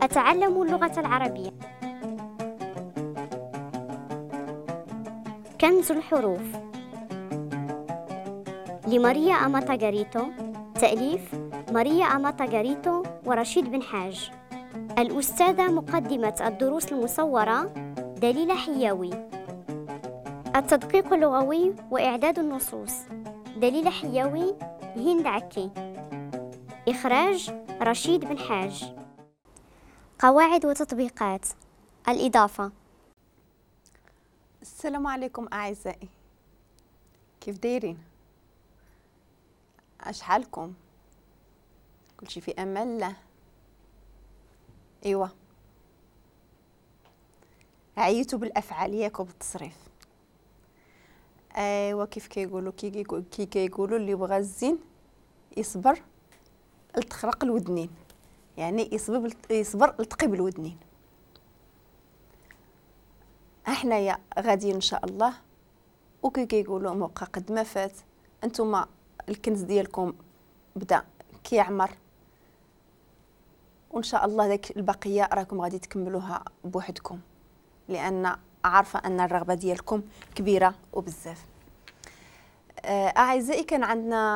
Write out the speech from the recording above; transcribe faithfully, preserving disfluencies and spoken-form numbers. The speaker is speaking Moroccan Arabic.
أتعلم اللغة العربية. كنز الحروف لماريا أماتاغاريتو، تأليف ماريا أماتاغاريتو ورشيد بن حاج. الأستاذة مقدمة الدروس المصورة دليلة حياوي. التدقيق اللغوي وإعداد النصوص دليلة حياوي، هند عكي. إخراج رشيد بن حاج. قواعد وتطبيقات الإضافة. السلام عليكم أعزائي، كيف دايرين؟ اش حالكم؟ كلشي في امان الله. ايوا عييتوا بالافعال ياك وبالتصريف. ايوا كيف كيقولوا كي كي كيقولوا اللي بغى الزين يصبر التخرق الودنين، يعني يصبر يصبر التقي بالودنين. احنايا غاديين ان شاء الله، وكي كيقولوا موقع قد ما فات، انتم الكنز ديالكم بدا كيعمر، وان شاء الله داك البقية راكم غادي تكملوها بوحدكم، لان عارفه ان الرغبة ديالكم كبيرة وبزاف. اعزائي كان عندنا